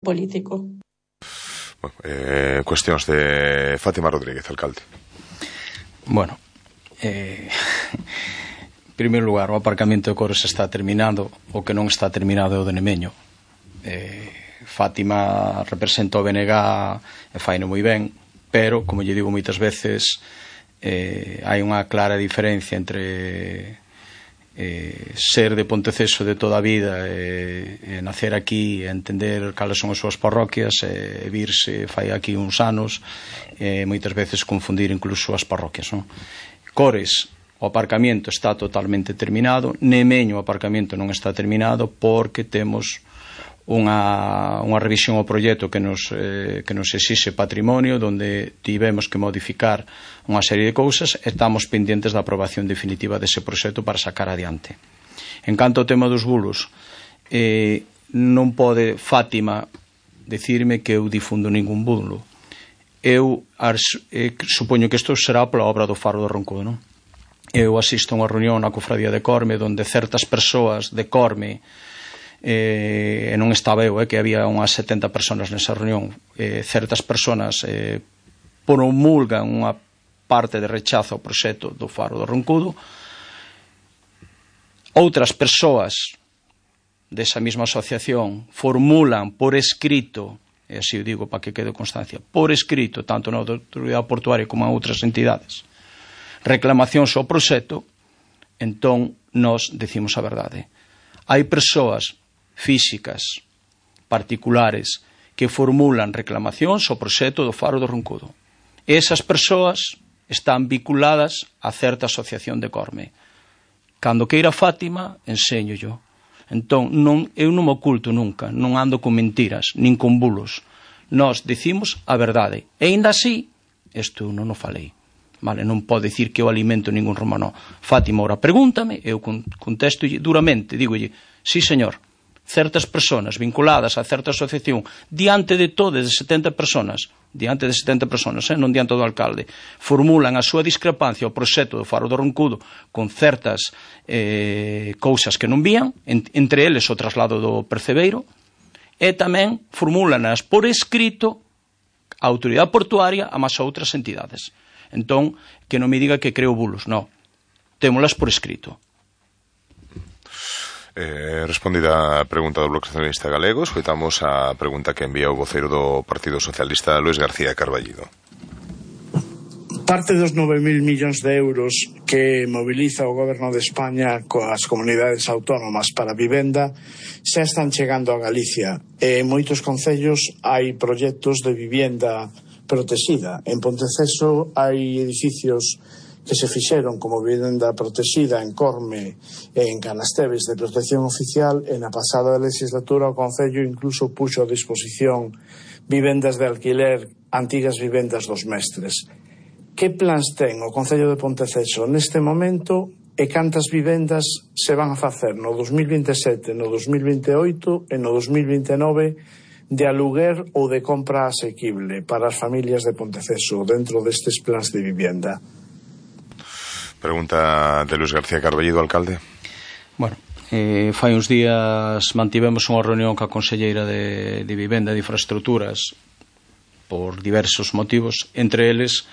político. Cuestións de Fátima Rodríguez, alcalde. Bueno, en primeiro lugar, o aparcamento de Cores está terminado. O que non está terminado é o de Nemeño. Fátima representa o BNG e faino moi ben, pero, como lle digo moitas veces, hai unha clara diferencia entre ser de Ponteceso de toda a vida e nacer aquí e entender cales son as súas parroquias e virse fai aquí uns anos e moitas veces confundir incluso as parroquias, non? Cores, o aparcamento está totalmente terminado. Nemeño, o aparcamento non está terminado porque temos unha revisión ao proxecto que nos exixe patrimonio, onde tivemos que modificar unha serie de cousas e estamos pendentes da aprobación definitiva dese proxecto para sacar adiante. En canto ao tema dos bulos, non pode Fátima dicirme que eu difundo ningún bulo. Eu supoño que isto será pola obra do Faro do Roncudo, non? Eu asisto a unha reunión na Cofradía de Corme onde certas persoas de Corme e non estaba eu, que había unhas 70 personas nesa reunión, certas personas promulgan unha parte de rechazo ao proxecto do Faro do Roncudo. Outras persoas desa mesma asociación formulan por escrito, e así o digo para que quede constancia, por escrito, tanto na autoridade portuaria como a outras entidades, reclamacións ao proxecto. Entón nós decimos a verdade. Hai persoas físicas, particulares, que formulan reclamacións ao proxecto do Faro do Roncudo. Esas persoas están vinculadas a certa asociación de Corme. Cando queira Fátima, enséñollo. Entón, eu non me oculto nunca, non ando con mentiras, nin con bulos. Nós dicimos a verdade. E ainda así, isto non o falei. Vale, non pode dicir que eu alimento ningún romano. Fátima ora pregúntame, eu contesto duramente, dígolle, sí señor, certas persoas vinculadas a certa asociación diante de todas de 70 personas, non diante do alcalde, formulan a súa discrepancia ao proxecto do Faro do Roncudo con certas cousas que non vían, entre eles o traslado do percebeiro, e tamén formulanas por escrito a autoridade portuaria a máis outras entidades. Entón, que non me diga que creo bulos, non, témolas por escrito. Respondida a pregunta do Bloque Nacionalista Galego, escoitamos a pregunta que envía o voceiro do Partido Socialista, Luís García Carballido. Parte dos 9.000 millóns de euros que moviliza o Goberno de España coas comunidades autónomas para a vivenda xa están chegando a Galicia. En moitos concellos hai proxectos de vivenda protexida. En Ponteceso hai edificios que se fixeron como vivenda protexida en Corme e en Canasteves de protección oficial, e na pasada legislatura o Concello incluso puxo a disposición vivendas de alquiler, antigas vivendas dos mestres. Que plans ten o Concello de Ponteceso neste momento e cantas vivendas se van a facer no 2027, no 2028 e no 2029 de aluguer ou de compra asequible para as familias de Ponteceso dentro destes plans de vivenda? Pregunta de Luís García Carballido, alcalde. Bueno, fai uns días mantivemos unha reunión ca conselleira de Vivenda e de Infraestructuras por diversos motivos, entre eles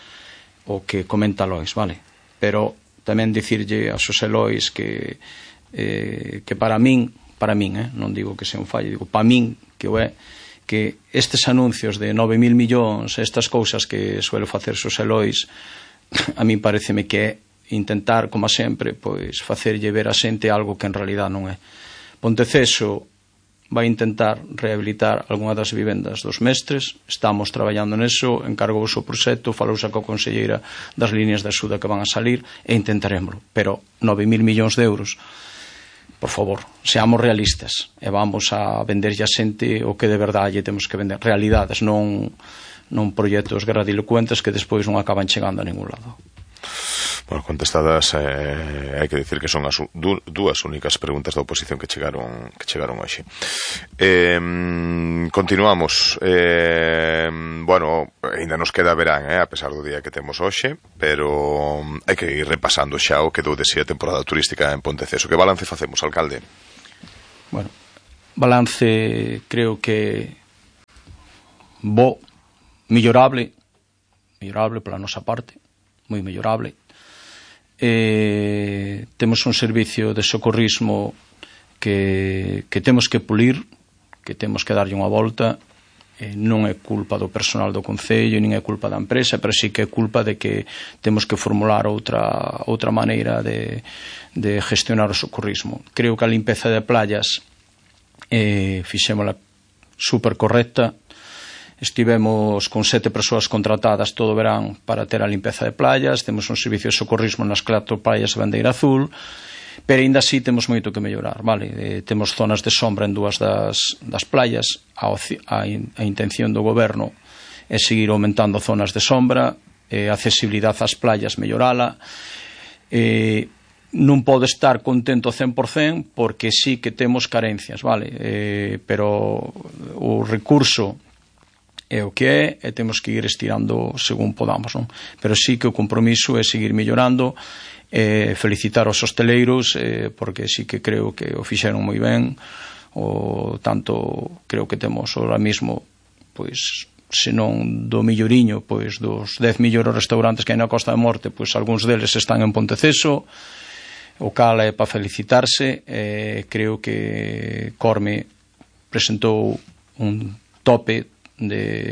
o que comenta Lois, vale? Pero tamén dicirlle a Xosé Lois que para min, non digo que sea un fallo, digo para min que o é, que estes anuncios de 9.000 millóns, estas cousas que suele facer Xosé Lois, a min pareceme que é intentar, como sempre, pois facerlle ver a xente algo que en realidad non é. Ponteceso vai intentar rehabilitar algunha das vivendas dos mestres, estamos traballando neso, encargouse o proxecto, falouse coa conselleira das líneas de axuda que van a salir e intentaremoslo, pero 9.000 millóns de euros, por favor, seamos realistas e vamos a venderlle a xente o que de verdade lle temos que vender, realidades, non proxectos gradilocuentes que despois non acaban chegando a ningún lado. Bueno, contestadas, hai que dicir que son as dúas únicas preguntas da oposición que chegaron hoxe. Continuamos. Bueno, ainda nos queda verán, a pesar do día que temos hoxe, pero hai que ir repasando xa o que dou de si a temporada turística en Ponteceso. Que balance facemos, alcalde? Bueno, balance creo que bo, mellorable pola nosa parte, moi mellorable. Temos un servicio de socorrismo que temos que pulir, que temos que darlle unha volta. Non é culpa do personal do Concello, nin é culpa da empresa, pero sí que é culpa de que temos que formular outra maneira de gestionar o socorrismo. Creo que a limpeza de playas fixémola super correcta. Estivemos con 7 persoas contratadas todo o verán para ter a limpeza de playas. Temos un servicio de socorrismo nas 4 playas de bandeira azul, pero ainda así temos moito que mellorar, vale? Temos zonas de sombra en 2 das playas. A intención do goberno é seguir aumentando zonas de sombra, a accesibilidade ás playas mellorala. Non pode estar contento 100% porque sí que temos carencias, vale? Pero o recurso é o que é e temos que ir estirando según podamos, non? Pero sí que o compromiso é seguir mellorando, felicitar aos hosteleiros, porque sí que creo que o fixeron moi ben. O tanto creo que temos ahora mismo, pois, se non do milloriño, pois dos 10 millores restaurantes que hai na Costa da Morte, pois algúns deles están en Ponteceso, o cal é para felicitarse. Creo que Corme presentou un tope de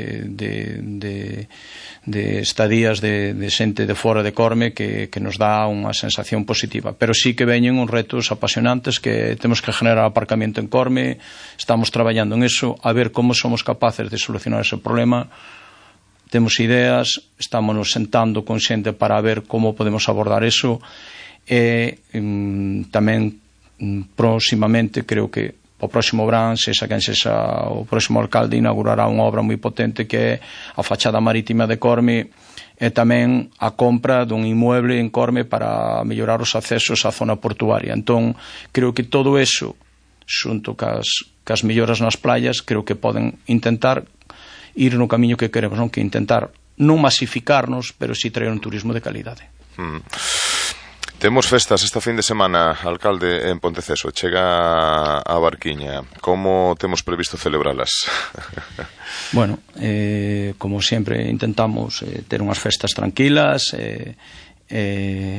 estadías de xente de fora de Corme que nos dá unha sensación positiva, pero sí que veñen uns retos apasionantes, que temos que generar aparcamento en Corme. Estamos traballando en eso, a ver como somos capaces de solucionar ese problema. Temos ideas, estamos sentando con xente para ver como podemos abordar eso, e tamén próximamente, creo que o próximo verán, sexa quen sexa o próximo alcalde, inaugurará unha obra moi potente que é a fachada marítima de Corme e tamén a compra dun inmueble en Corme para mellorar os accesos á zona portuaria. Entón, creo que todo eso, xunto cas melloras nas playas, creo que poden intentar ir no camiño que queremos, non? Que intentar non masificarnos, pero si traer un turismo de calidade. Temos festas esta fin de semana, alcalde, en Ponteceso. Chega a barquiña. Como temos previsto celebralas? Bueno, como sempre intentamos ter unhas festas tranquilas e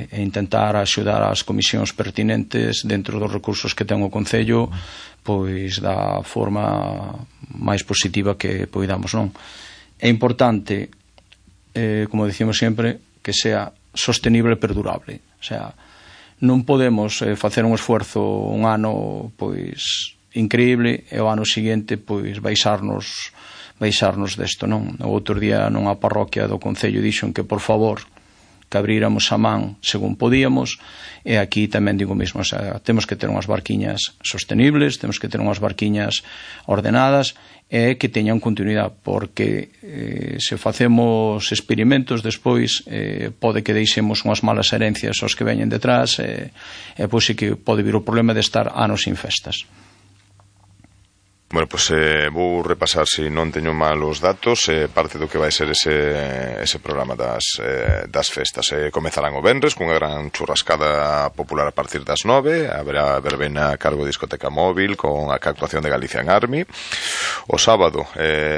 intentar axudar as comisións pertinentes dentro dos recursos que ten o Concello, pois da forma máis positiva que poidamos, non? É importante, como dicimos sempre, que sea sostenible e perdurable. O sea, non podemos facer un esforzo un ano pois increíble e o ano seguinte pois baixarnos desto, non? O outro día nunha parroquia do Concello dixon que por favor que abríramos a man según podíamos, e aquí tamén digo mesmo, o sea, temos que ter unhas barquiñas sostenibles, temos que ter unhas barquiñas ordenadas e que teñan continuidade, porque se facemos experimentos despois pode que deixemos unhas malas herencias aos que veñen detrás e pois sí que pode vir o problema de estar anos sin festas. Bueno, pois vou repasar, se non teño mal os datos, parte do que vai ser ese programa das festas. Comezarán o venres cunha gran churrascada popular a partir das 9, haberá verbena a cargo de Discoteca Móvil con a actuación de Galician Army. O sábado,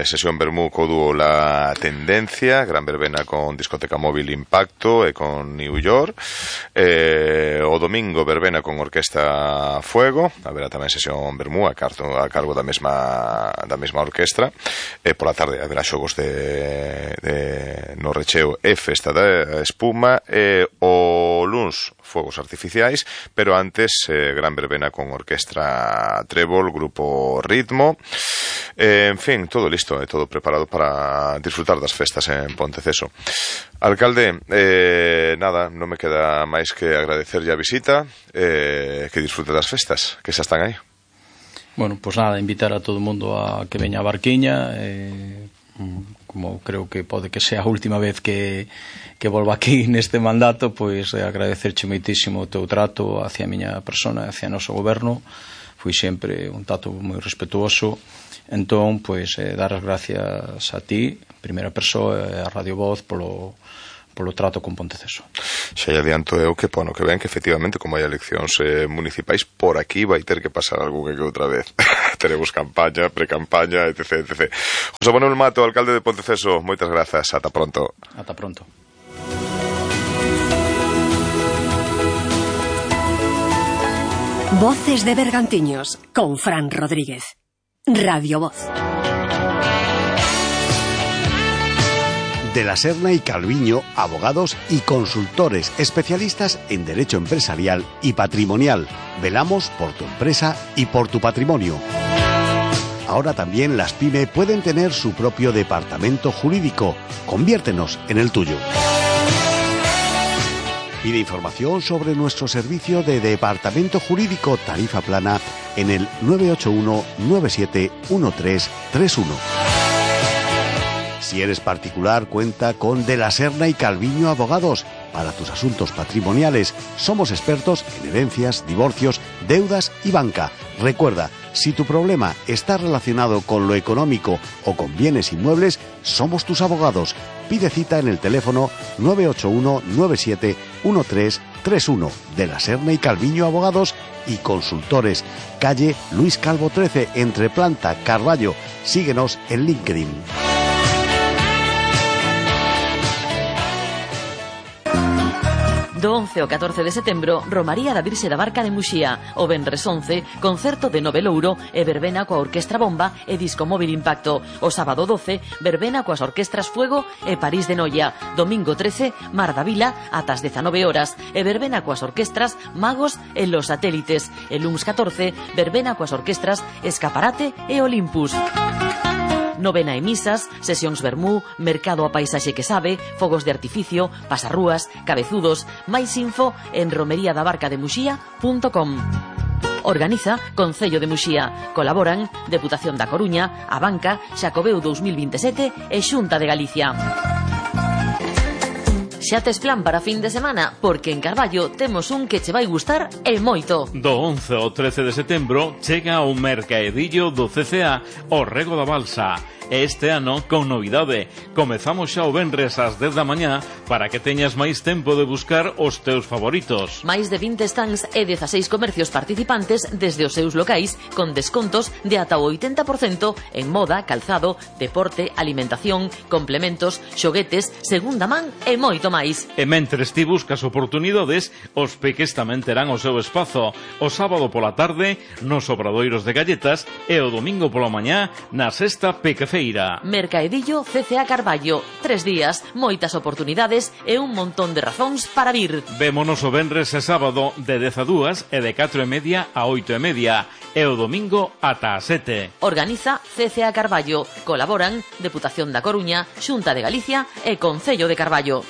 sesión vermú co dúo La Tendencia, gran verbena con Discoteca Móvil Impacto e con New York. O domingo, verbena con Orquesta Fuego, haberá tamén sesión vermú a cargo da mesma orquestra, e pola tarde haberá xogos no recheo e festa da espuma, e o luns fogos artificiais, pero antes gran verbena con Orquestra Trébol, Grupo Ritmo, en fin, todo listo e todo preparado para disfrutar das festas en Ponteceso. Alcalde, nada, non me queda máis que agradecerlle a visita, que disfrute das festas que xa están aí. Bueno, pois nada, invitar a todo o mundo a que veña a barquiña, como creo que pode que sea a última vez que volva aquí neste mandato, pois agradecerche moitísimo o teu trato hacia a miña persona, hacia o noso goberno. Foi sempre un trato moi respetuoso. Entón, pois dar as gracias a ti, primeira persoa, a Radio Voz, polo polo trato con Ponteceso. Xa lle adianto eu que, pono, que ven que efectivamente, como hai eleccións municipais, por aquí vai ter que pasar algo que outra vez. Teremos campaña, pre-campaña, etc, etc. José Manuel Mato, alcalde de Ponteceso, moitas grazas, ata pronto. Ata pronto. Voces de Bergantiños, con Fran Rodríguez. Radio Voz. De la Serna y Calviño, abogados y consultores especialistas en derecho empresarial y patrimonial. Velamos por tu empresa y por tu patrimonio. Ahora también las PYME pueden tener su propio departamento jurídico. Conviértenos en el tuyo. Pide información sobre nuestro servicio de departamento jurídico tarifa plana en el 981 97 1331. Si eres particular, cuenta con De la Serna y Calviño Abogados para tus asuntos patrimoniales. Somos expertos en herencias, divorcios, deudas y banca. Recuerda, si tu problema está relacionado con lo económico o con bienes inmuebles, somos tus abogados. Pide cita en el teléfono 981 97 1331. De la Serna y Calviño Abogados y Consultores. Calle Luis Calvo 13, entre Planta, Carballo. Síguenos en LinkedIn. Do 11 ao 14 de setembro, Romaría da Virxe da Barca de Muxía. O venres 11, concerto de Novelouro e verbena coa Orquestra Bomba e Disco Móvil Impacto. O sábado 12, verbena coas orquestras Fuego e París de Noia. Domingo 13, Mar da Vila ata as 19 horas e verbena coas orquestras Magos e Los Satélites. E luns 14, verbena coas orquestras Escaparate e Olympus. Novena e misas, sesións vermú, mercado a paisaxe que sabe, fogos de artificio, pasarrúas, cabezudos. Máis info en romeriadabarcademuxía.com. Organiza Concello de Muxía. Colaboran Deputación da Coruña, a Banca, Xacobeo 2027 e Xunta de Galicia. Xa tes plan para fin de semana? Porque en Carballo temos un que che vai gustar e moito. Do 11 ao 13 de setembro chega o mercaedillo do CCA o Rego da Balsa. Este ano con novidade. Comezamos xa o venres ás 10 da mañá para que teñas máis tempo de buscar os teus favoritos. Máis de 20 stands e 16 comercios participantes desde os seus locais con descontos de ata o 80% en moda, calzado, deporte, alimentación, complementos, xoguetes, segunda man e moito máis. E mentres ti buscas oportunidades, os peques tamén terán o seu espazo. O sábado pola tarde nos obradoiros de galletas e o domingo pola mañá na sexta pequefeira. Mercaedillo CCA Carballo. 3 días, moitas oportunidades e un montón de razóns para vir. Vémonos o venres e sábado de 10 a 2 e de 4:30 a 8:30 e o domingo ata a 7. Organiza CCA Carballo. Colaboran Deputación da Coruña, Xunta de Galicia e Concello de Carballo.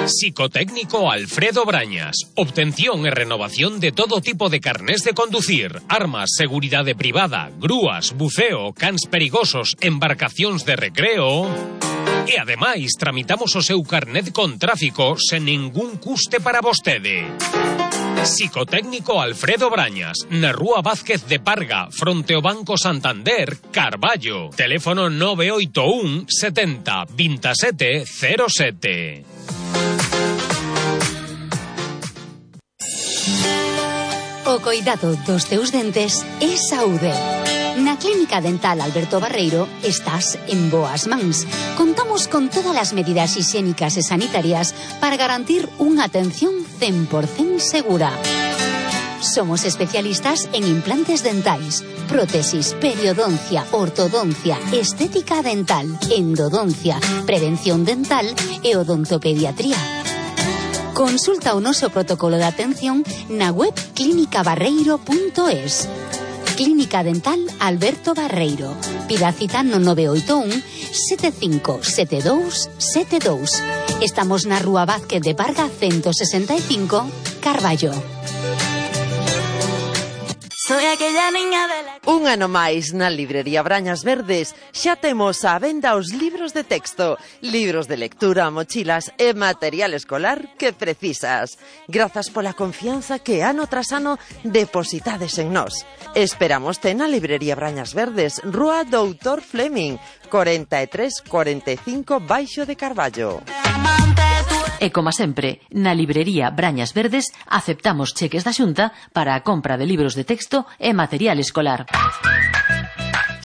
Psicotécnico Alfredo Brañas. Obtención e renovación de todo tipo de carnés de conducir, armas, seguridade privada, grúas, buceo, cans perigosos, embarcacións de recreo. E ademais tramitamos o seu carnet con tráfico sen ningún custe para vostede. Psicotécnico Alfredo Brañas, na Rúa Vázquez de Parga, fronte ao Banco Santander, Carballo. Teléfono 981 70 27 07. O coidado dos teus dentes é saúde. Na Clínica Dental Alberto Barreiro estás en boas mans. Contamos con todas as medidas higiénicas e sanitarias para garantir unha atención 100% segura. Somos especialistas en implantes dentais, prótesis, periodoncia, ortodoncia, estética dental, endodoncia, prevención dental e odontopediatría. Consulta o noso protocolo de atención na web clinicabarreiro.es. Clínica Dental Alberto Barreiro. Pida cita no 981 75 72 72. Estamos na Rúa Vázquez de Parga 165, Carballo. Soy aquella niña de la... Un ano máis na librería Brañas Verdes xa temos á venda os libros de texto, libros de lectura, mochilas e material escolar que precisas. Grazas pola confianza que ano tras ano depositades en nós. Esperámoste na librería Brañas Verdes, Rúa Doutor Fleming, 4345 Baixo de Carballo. E como sempre, na librería Brañas Verdes aceptamos cheques da Xunta para a compra de libros de texto e material escolar.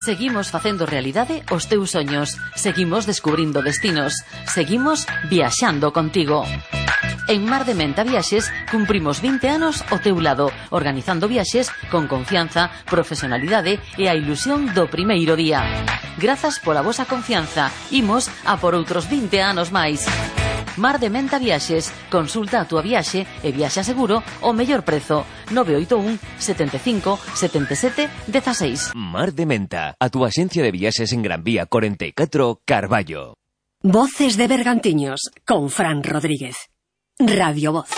Seguimos facendo realidade os teus soños, seguimos descubrindo destinos, seguimos viaxando contigo. En Mar de Menta Viaxes cumprimos 20 anos ao teu lado, organizando viaxes con confianza, profesionalidade e a ilusión do primeiro día. Grazas pola vosa confianza, imos a por outros 20 anos máis. Mar de Menta Viaxes, consulta a túa viaxe e viaxa seguro ao mellor prezo. 981 75 77 16. Mar de Menta, a túa axencia de viaxes en Gran Vía 44, Carballo. Voces de Bergantiños, con Fran Rodríguez. Radio Voz.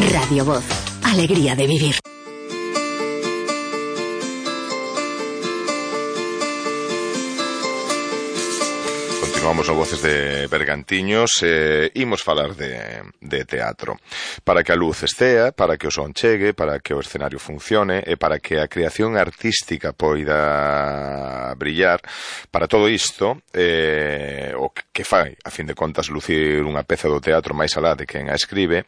Radio Voz, alegría de vivir. Continuamos no Voces de Bergantiños e imos falar de teatro. Para que a luz estea, para que o son chegue, para que o escenario funcione e para que a creación artística poida brillar, para todo isto, o que fai, a fin de contas, lucir unha peza do teatro máis alá de quen a escribe,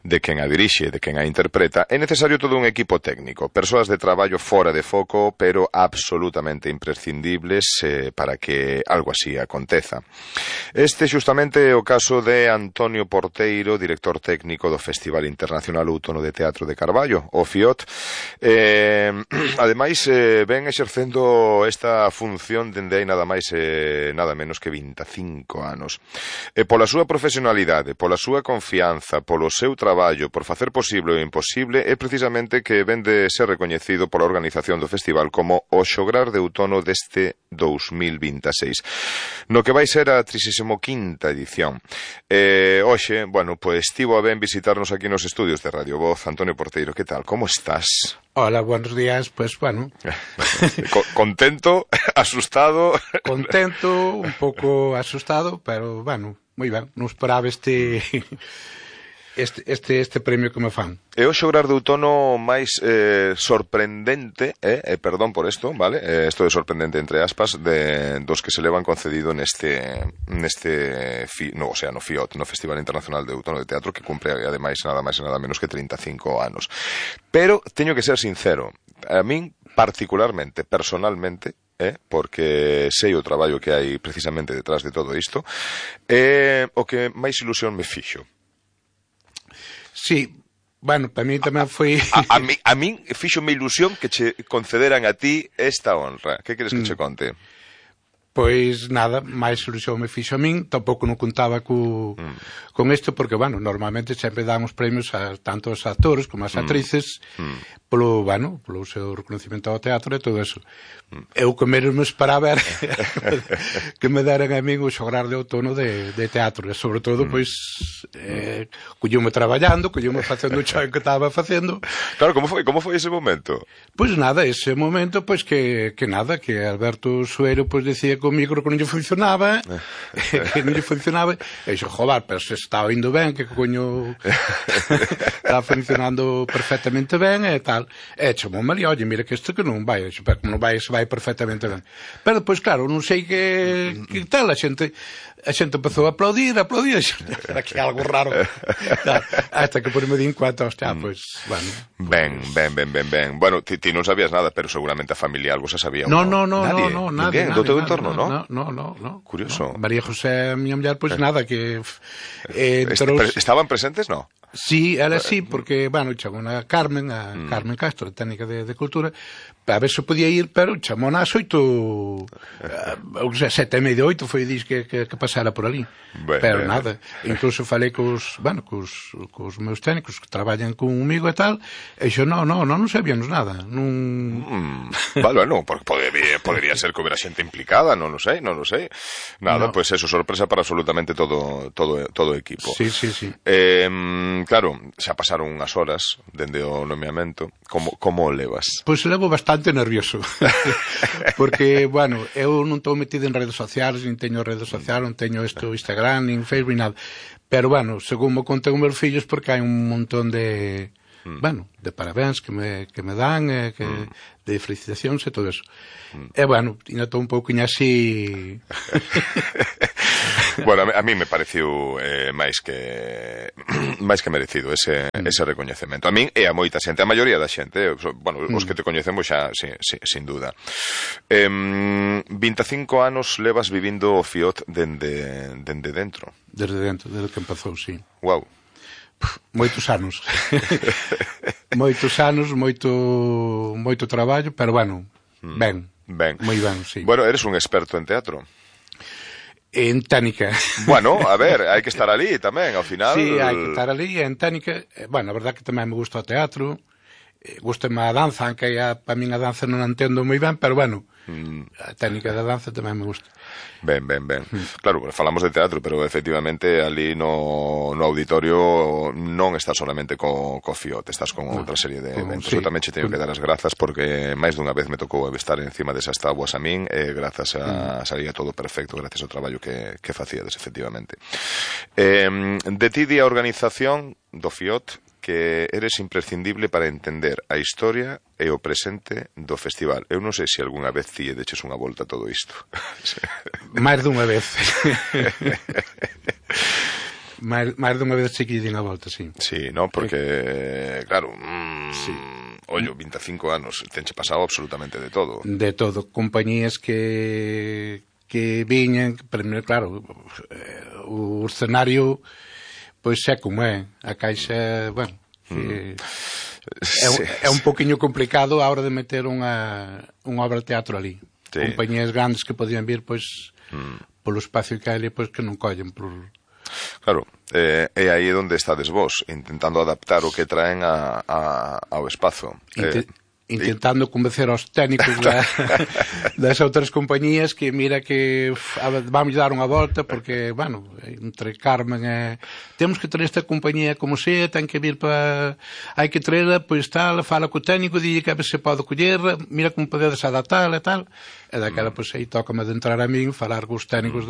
de quen a dirixe, de quen a interpreta, é necesario todo un equipo técnico, persoas de traballo fora de foco, pero absolutamente imprescindibles para que algo así aconteza. Este xustamente é o caso de Antonio Porteiro, director técnico do Festival Internacional Outono de Teatro de Carballo, o FIOT. Ademais, ven exercendo esta función dende hai nada máis nada menos que 25 anos. E pola súa profesionalidade, pola súa confianza, polo seu traballo, por facer posible o imposible, é precisamente que ven de ser recoñecido pola organización do festival como o xograr de outono deste 2026, no que vai ser a 35ª edición. Hoxe, bueno, pois estivo a ben visitarnos aquí nos estudios de Radio Voz. Antonio Porteiro, que tal? Como estás? Hola, buenos días, pues bueno. Contento, asustado. Contento, un pouco asustado, pero bueno, moi ben. Non esperaba este premio que me fan. É o xograr de outono máis sorprendente, perdón por isto, vale? Isto é sorprendente entre aspas, dos que se levan concedido no FIOT, no Festival Internacional de Outono de Teatro, que cumpre ademais nada máis e nada menos que 35 anos. Pero teño que ser sincero, a min particularmente, personalmente, porque sei o traballo que hai precisamente detrás de todo isto, o que máis ilusión me fixo. Sí, bueno, para mí tamén foi... A min fixo-me ilusión que che concederan a ti esta honra. Que queres que che conte? Pois nada, máis ilusión me fixo a min, tampouco non contaba con isto, porque, bueno, normalmente sempre damos premios a tanto aos actores como as actrices polo seu reconocimento ao teatro e todo eso. Eu que menos me esperaba era que me deran a min o xograr de outono de teatro, e sobre todo, pois, colleume traballando, colleume facendo o xogo que estaba facendo. Claro, como foi ese momento? Pois nada, ese momento, pois que Alberto Suero, pois, decía que o micro que non lle funcionaba, e dixo, joder, pero se estaba indo ben, que coño estaba funcionando perfectamente ben e tal. E chamou María, oye, mira que isto que non vai, pero como non vai, se vai perfectamente ben. Pero depois, claro, non sei que tal, a xente empezou a aplaudir, era que algo raro. Claro, hasta que por me di en cuenta, hostia, pois, bueno. Ben. Bueno, ti non sabías nada, pero seguramente a familia algo se sabía. No, nadie. Do teu entorno, no? No. Curioso. María José, miña muller, pois nada, que... ¿Estaban presentes, no? Sí, ela sí, porque, bueno, chamou a Carmen Castro, a técnica de cultura, a ver se podía ir, pero chamou nas 8, 7:30, 8 foi dis que pasara por ali. Pero nada, incluso falei cos meus técnicos que traballan comigo e tal, e xo, non sabíamos nada. Bueno, porque podería ser que houbera xente implicada, non lo sei. Nada, pois eso, sorpresa para absolutamente todo o equipo. Sí. Claro, xa pasaron unhas horas dende o nomeamento. Como o levas? Pois levo bastante nervioso. Porque, bueno, eu non estou metido en redes sociales, nin teño redes sociales, non teño Instagram, nin Facebook, nada. Pero, bueno, según me conten os meus fillos, porque hai un montón de parabéns que me dan, de felicitacións e todo eso. E, bueno, ainda estou un pouco así... Bueno, a mí me pareciu máis que merecido ese recoñecemento. A min e a moita xente, a maioría da xente, bueno, os que te coñecemos xa, sin duda. 25 anos levas vivindo o FIOT dende dentro. Desde dentro, desde que empezou, sí. Guau. Moitos anos. Moitos anos, moito traballo, pero, bueno, ben. Moi ben, sí. Bueno, eres un experto en teatro. En técnica. Bueno, a ver, hai que estar ali tamén, ao final. Sí, hai que estar ali, en técnica. Bueno, a verdad que tamén me gusta o teatro, gustame a danza, aunque para min a danza non a entendo moi ben, pero bueno, a técnica da danza tamén me gusta. Ben. Claro, falamos de teatro, pero efectivamente ali no auditorio non estás solamente co FIOT, estás con outra serie de eventos. Eu tamén che teño que dar as grazas porque máis dunha vez me tocou estar encima desas tabuas a min e grazas a salía todo perfecto, gracias ao traballo que facíades, efectivamente. De ti di a organización do FIOT que eres imprescindible para entender a historia e o presente do festival. Eu non sei se algunha vez ti deches unha volta a todo isto. Máis dunha vez. Máis dunha vez se que din a volta, sí. Sí, non? Porque, claro, ollo, 25 anos, tenche pasado absolutamente de todo. De todo. Compañías que viñan, primeiro, claro, o escenario... Pois é como é, a Caixa, bueno, é un poquinho complicado a hora de meter unha obra de teatro ali. Sí. Compañías grandes que podían vir, pois, polo espacio que hai ali, pois que non collen por... Claro, é aí onde estades vos, intentando adaptar o que traen ao espazo. Intentando convencer aos técnicos das outras compañías que mira que vamos dar unha volta porque, bueno, entre Carmen temos que traer esta compañía como sea, ten que vir para... hai que traerla, pois tal, fala co técnico, dille que a ver se pode coller, mira como podedes adaptar e tal, e daquela, pois aí tócame de entrar a min, falar cos técnicos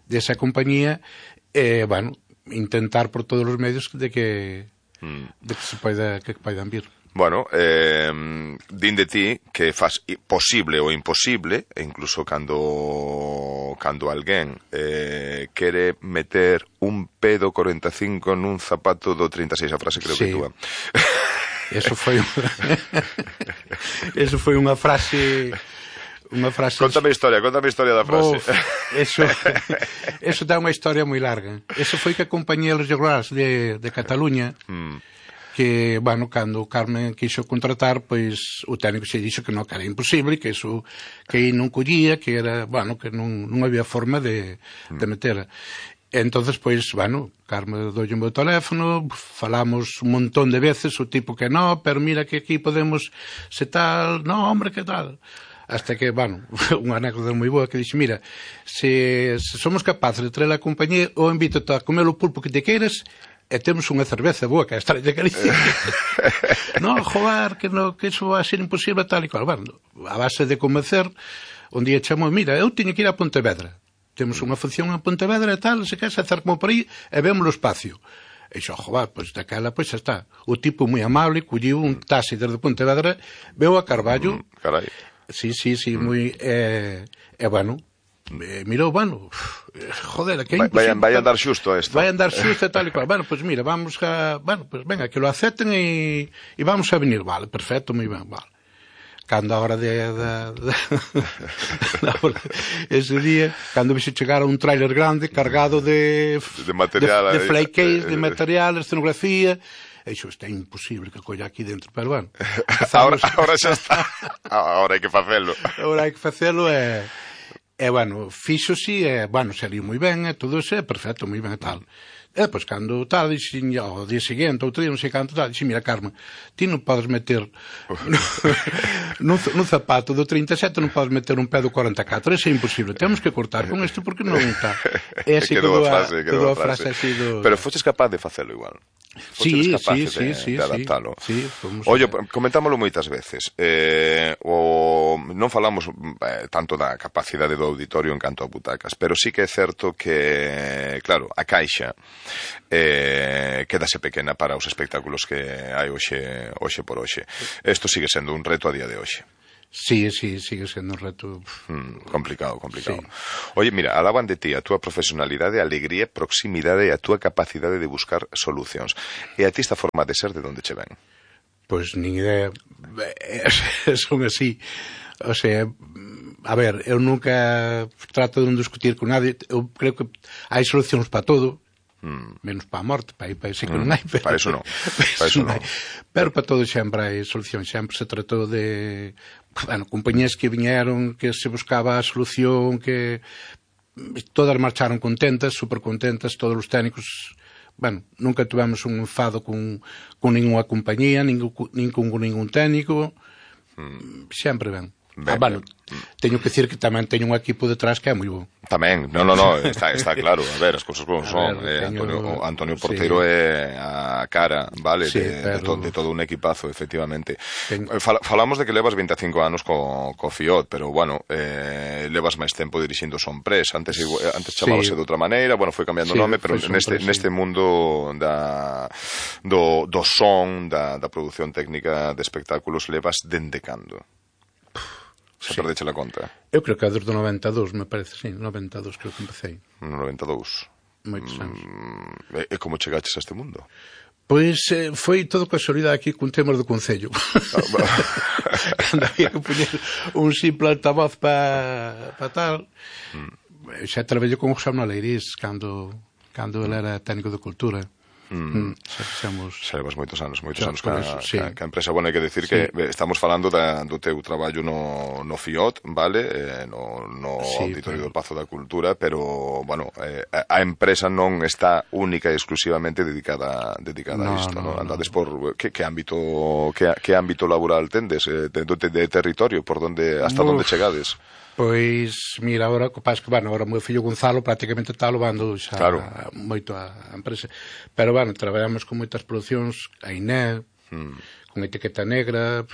desa compañía e, bueno, intentar por todos os medios de que se poidan vir. Bueno, din de ti que faz posible ou imposible, e incluso cando alguén quere meter un pedo 45 nun zapato do 36, a frase creo que túa. Eso foi unha frase... Contame a historia da frase. Eso dá unha historia moi larga. Eso foi que a compañía Los Regulars de Cataluña... que, bueno, cando Carmen quixo contratar, pois o técnico se dixo que non, que era imposible, que iso que non collía, que era, bueno, que non había forma de meter. Entonces, pois, bueno, Carmen doulle o meu teléfono, falamos un montón de veces, o tipo que non, pero mira que aquí podemos se tal, non, hombre, que tal. Hasta que, bueno, unha anécdota moi boa que dixe, mira, se somos capaces de traer a compañía, ou invito-te a comer o pulpo que te queiras, e temos unha cerveza boa que é a Estrella de Galicia. Non, joder, que iso vai ser imposible tal e cual. Bueno, a base de convencer, un día chamou, mira, eu teño que ir a Pontevedra. Temos unha función en Pontevedra e tal, se queres acercamos por aí e vemos o espacio. E xo, joder, pois daquela, pois xa está. O tipo moi amable, colliu un taxi desde Pontevedra, veu a Carballo. Carai. Sí, moi... bueno... mirou, bueno, joder, que é imposible. Vai andar xusto esto. Vai andar xusto e tal e cual. Bueno, pois mira, vamos a... Bueno, pois venga, que lo acepten e vamos a venir. Vale, perfecto, moi ben, vale. cando a hora ese día, cando vise chegar a un tráiler grande cargado de material, de flycase, de material, escenografía, e isto é imposible que colla aquí dentro, pero bueno, ahora xa está, ahora hai que facelo, bueno, fixo si, bueno, saliu moi ben, todo iso é perfecto, moi ben e tal. E pois cando tal, dixen, ao día seguinte, outro día, non sei canto tal, dixen, mira, Carmen, ti non podes meter nun zapato do 37, non podes meter un pé do 44, eso é imposible, temos que cortar con isto porque non está. E así quedou a frase así do... Pero foches capaz de facelo igual. Sí, de adaptalo. Sí, Ollo, comentámoslo moitas veces. Non falamos tanto da capacidade do auditorio en canto a butacas, pero sí que é certo que, claro, a caixa quedase pequena para os espectáculos que hai hoxe por hoxe. Isto sigue sendo un reto a día de hoxe. Sí, sigue sendo un reto complicado. Sí. Oye, mira, alaban de ti a túa profesionalidade, alegría, proximidade e a túa capacidade de buscar solucións. E a ti esta forma de ser de onde che ven? Pois nin idea, son así. O sea, a ver, eu nunca trato de non discutir con nadie, eu creo que hai solucións para todo, menos para a morte, para ese que non hai, para eso non. Pero para todo sempre hai solucións, sempre se tratou de, bueno, compañías que viñeron, que se buscaba a solución, que todas marcharon contentas, super contentas, todos os técnicos, bueno, nunca tivemos un enfado con ninguna compañía, nin con ningún técnico, sempre ben. Bueno, teño que dicir que tamén teño un equipo detrás que é moi bo. Tamén, no, está claro, a ver, as cousas como son. Antonio Porteiro é a cara, vale, de todo un equipazo, efectivamente. Falamos de que levas 25 anos co Fiot, pero, bueno, levas máis tempo dirixindo Sonpress. Antes chamábase de outra maneira, bueno, foi cambiando o nome, pero neste mundo do son, da produción técnica de espectáculos, levas dende cando? Se perdeche la conta? Eu creo que é desde o 92, me parece, sí, 92 creo que empecé. No 92? Moitos anos. E como chegaches a este mundo? Pois foi todo casualidade aquí cun tema do Concello. Cando había que poñer un simple altavoz para tal, xa traballei con José Manuel Leirís cando ele era técnico de cultura. Xa levas moitos anos ca empresa. Bueno, hai que decir que estamos falando do teu traballo no Fiot, vale, no Auditorio do Pazo da Cultura, pero, bueno, a empresa non está única e exclusivamente dedicada a isto, non? Andades por que ámbito laboral tendes, de territorio, hasta onde chegades? Pois, mira, agora, que, bueno, agora o meu fillo Gonzalo prácticamente está levando xa moito a empresa. Pero, bueno, traballamos con moitas producións, a INE, con Etiqueta Negra,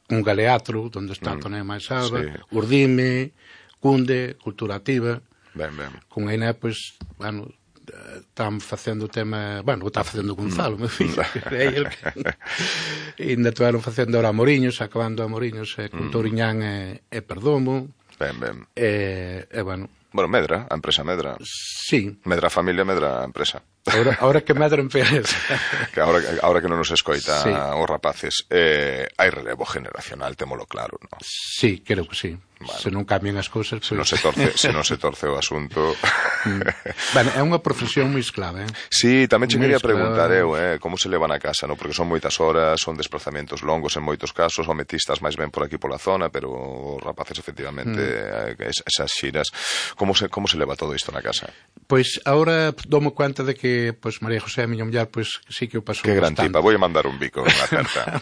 con Galeatro, onde está Tonea máis Alba, Urdime, Cunde, Cultura Activa. Con a INE, pois, bueno, estamos facendo o tema, bueno, o está facendo Gonzalo, meu fillo, e ainda estiveron facendo ahora Moriños, acabando a Moriños, con Touriñán e Perdomo. E, bueno, Medra, a empresa Medra. Sí. Medra familia, Medra empresa. Ahora que Medra empresa. Que ahora que non nos escoita os rapaces, hai relevo generacional, témolo claro, non? Sí, creo que sí. Bueno, se non cambian as cousas, se non se torce o asunto. Bueno, é unha profesión moi esclava, Sí, tamén che quería preguntar como se levan a casa, non? Porque son moitas horas, son desplazamentos longos en moitos casos, o metistas máis ben por aquí pola zona, pero os rapaces efectivamente esas xiras, como se leva todo isto na casa? Pois agora domo cuenta de que María José, a miña muller, sí que o pasou que gran bastante. Tipa, vou mandar un bico na carta.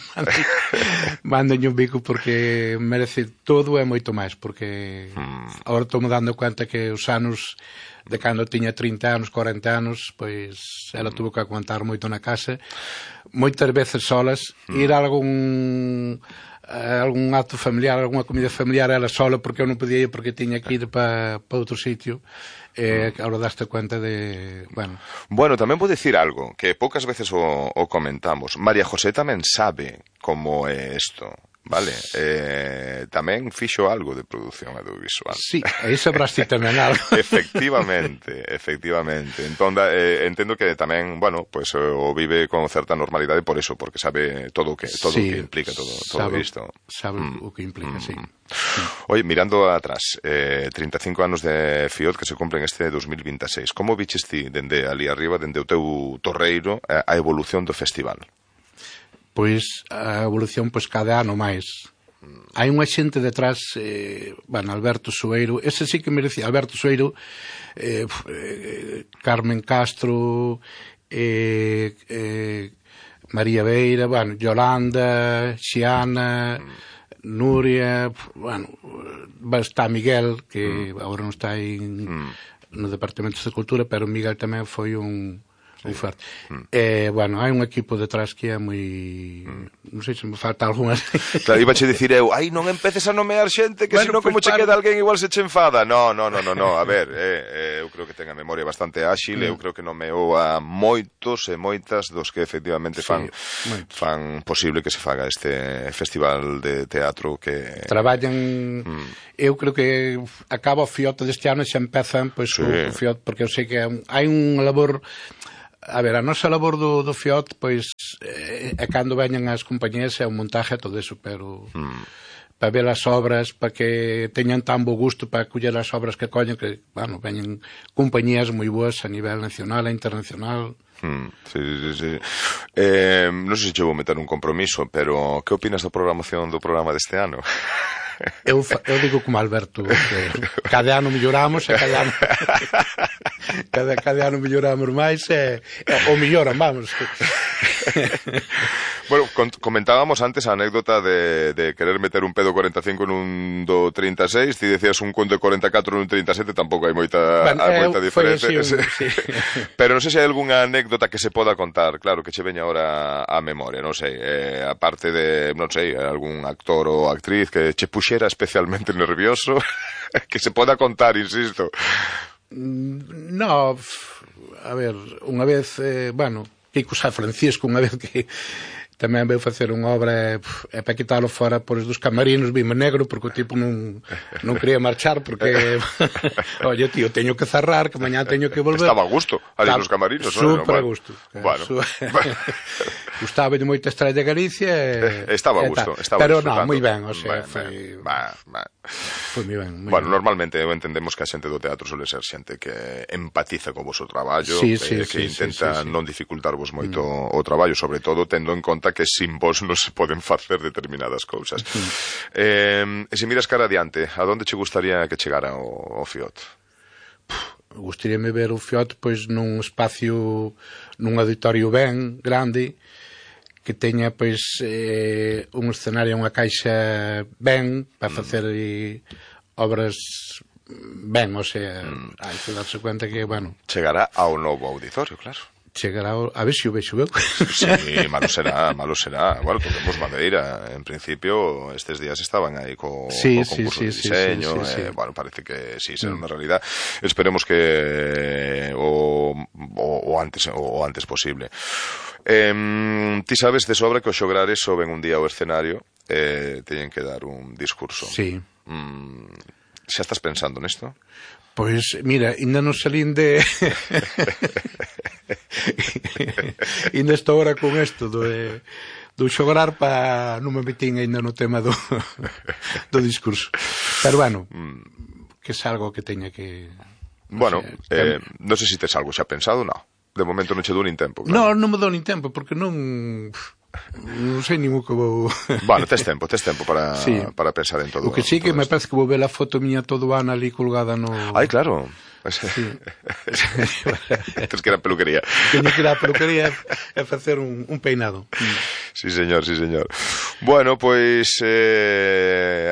Mándolle un bico porque merece todo e moito máis, porque agora estou me dando cuenta que os anos de cando tiña 30 anos, 40 anos, pois ela tuvo que aguantar moito na casa, moitas veces solas, ir a algún acto familiar, alguna comida familiar ela sola, porque eu non podía ir porque tiña que ir para outro sitio. Ahora daste cuenta de... Bueno, tamén vou dicir algo que poucas veces o comentamos. María José tamén sabe como é isto. vale? Tamén fixo algo de produción audiovisual. Sí, aí sabraste tamén algo. Efectivamente. Entón, entendo que tamén, bueno, pues o vive con certa normalidade por eso, porque sabe todo o que implica todo isto. Sabe o que implica, sí. Oye, mirando atrás, 35 anos de FIOD que se cumplen este 2026. Como viches ti, dende ali arriba, dende o teu torreiro, a evolución do festival? Pois a evolución cada ano máis. Hai unha xente detrás, Alberto Soeiro, ese sí que merecía, Alberto Soeiro, Carmen Castro, María Beira, Yolanda, Xiana, Nuria, está Miguel, que agora non está no Departamento de Cultura, pero Miguel tamén foi un forte. Hai un equipo detrás que é moi... Non sei se me falta algunha. Claro, iba a dicir eu, non empeces a nomear xente, que senón como che queda alguén igual se che enfada. No, a ver, eu creo que ten a memoria bastante áxil, eu creo que nomeou a moitos e moitas dos que efectivamente fan posible que se faga este festival de teatro que... Traballan... Eu creo que acaba o FIOT deste ano e xa empezan o FIOT, porque eu sei que hai unha labor... A ver, a nosa labor do FIOT, pois, é cando veñan as compañías é un montaje e todo eso, pero para ver as obras, para que teñan tan bo gusto para coller as obras que collen, que, veñen compañías moi boas a nivel nacional e internacional. Sí. Non sei se che vou meter un compromiso, pero que opinas da programación do programa deste ano? Eu digo como Alberto, que cada ano melloramos e cada ano melloramos máis ou melloran, vamos. Bueno, comentábamos antes a anécdota de querer meter un pedo 45 nun do 36, ti decías un conto de 44 nun 37, tampouco hai moita diferencia. Sí. Pero non sei se hai algunha anécdota que se poda contar, claro, que che veña ahora a memoria, non sei, aparte de, non sei, algún actor ou actriz que che puxera especialmente nervioso, que se poda contar, insisto. No, a ver, unha vez, Kiko San Francisco, unha vez que tamén veu facer unha obra e para quitalo fora por dos camarinos vime negro porque o tipo non quería marchar porque oye tío, teño que cerrar que mañá teño que volver. Estaba a gusto ali nos camarinos, non? Super a gusto. Gustaba de moita Estrella de Galicia estaba a gusto, pero non, moi ben, o sea, foi moi ben. Bueno, normalmente entendemos que a xente do teatro suele ser xente que empatiza co vosso traballo, que intenta non dificultarvos moito o traballo, sobre todo tendo en conta que sin vos non se poden facer determinadas cousas. E se miras cara adiante, a donde che gustaría que chegara o FIOT? Gustaríame ver o FIOT pois nun espacio, nun auditorio ben grande, que teña pois un escenario, unha caixa ben para facer obras ben, o sea, hai que darse cuenta que, chegará ao novo auditorio, claro. Chegará, a ver se o vexo eu. Sí, malo será. Bueno, toquemos madeira. En principio, estes días estaban aí co concurso de diseño. Bueno, parece que sí, será unha realidad. Esperemos que o antes posible. Ti sabes de sobra que os xograres soben un día ao escenario teñen que dar un discurso. Sí. Xa estás pensando nesto? Pois, mira, ainda non salín de... ainda estou ahora con isto do xograr para non me metín ainda no tema do discurso. Pero, que é algo que teña que... Bueno, non sei se tes algo xa pensado, non. De momento non che dou nin tempo. Claro. Non me dou nin tempo, porque non sei nin o que vou... Bueno, tes tempo para pensar en todo. O que sí que me parece que vou ver a foto miña todo ano ali colgada no... Ai, claro. Sí. Tens que ir a peluquería. Teño que ir a peluquería e facer un peinado. Sí, señor. Bueno, pois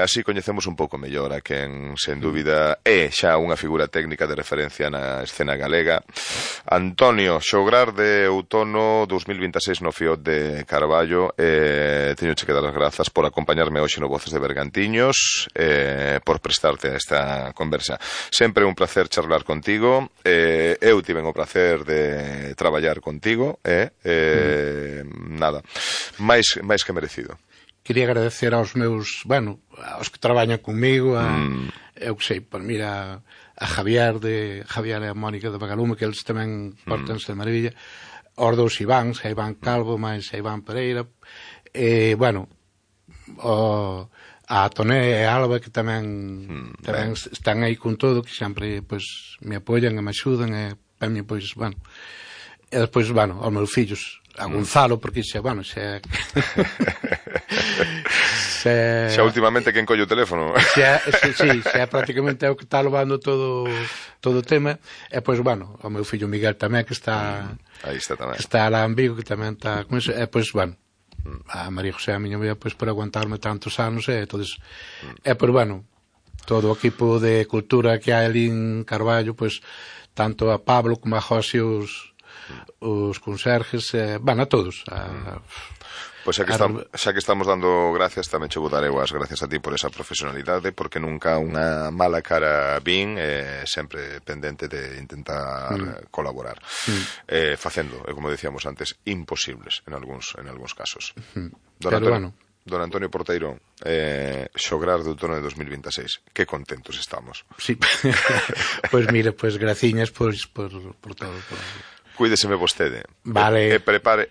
así coñecemos un pouco mellor a quen, sen dúbida, é xa unha figura técnica de referencia na escena galega. Antonio, xograr de outono 2026 no FIOT de Carballo. Teño que dar as grazas por acompañarme hoxe no Voces de Bergantiños, por prestarte a esta conversa. Sempre un placer charlar contigo. Eu tiven o placer de traballar contigo. Nada, máis que merecido. quería agradecer aos meus, bueno, aos que traballan comigo, eu que sei, por mira a Javier e a Mónica de Bagalume, que eles tamén portanse de maravilla, aos dous Iváns, a Iván Calvo, máis a Iván Pereira, e, bueno, a Toné e a Alba, que tamén están aí con todo, que sempre, pois, me apoian e me axudan, e para mí, pois, bueno, e despois, bueno, aos meus fillos, a Gonzalo, porque xa, bueno, xa últimamente quen colle o teléfono. Xa prácticamente é o que está levando todo o tema. E, pois, bueno, o meu fillo Miguel tamén, que está aí está tamén, que está lá en Vigo, que tamén está con eso. E, pois, bueno, a María José, a miña vida, pois, por aguantarme tantos anos, e entonces, e, pois, bueno, todo o equipo de cultura que hai ali en Carballo, pois, tanto a Pablo como a José, os conserjes, bueno, a todos. Pois xa que estamos dando gracias, tamén che vou dar eu as gracias a ti por esa profesionalidade, porque nunca unha mala cara vin, sempre pendente de intentar colaborar, facendo, como decíamos antes, imposibles en algúns casos. Don Antonio Porteiro, xograr do outono de 2026, que contentos estamos. Sí, pois mire, pois graciñas por todo. Cuídeseme vostede. Vale. Prepare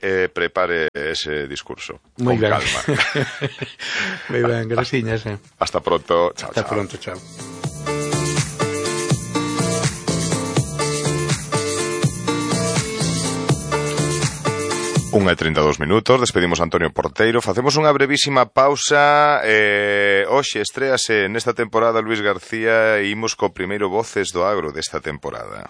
ese discurso. Muy con bien. calma. Muy bien, graciñas. Hasta pronto. Chao, Hasta pronto, chao. Unha e 32 minutos, despedimos a Antonio Porteiro, facemos unha brevísima pausa. Hoxe estréase nesta temporada Luis García e imos co primeiro Voces do Agro desta temporada.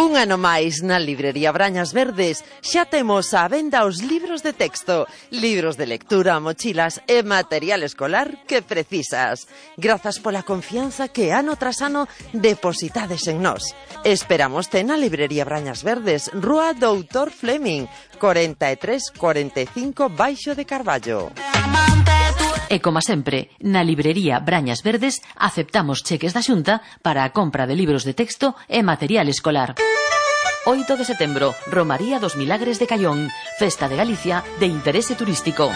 Un ano máis na librería Brañas Verdes xa temos á venda os libros de texto, libros de lectura, mochilas e material escolar que precisas. Grazas pola confianza que ano tras ano depositades en nós. Esperámoste na librería Brañas Verdes, Rúa Doutor Fleming, 4345 Baixo de Carballo. E como sempre, na librería Brañas Verdes aceptamos cheques da Xunta para a compra de libros de texto e material escolar. 8 de setembro, Romaría dos Milagres de Caión, Festa de Galicia de interese turístico.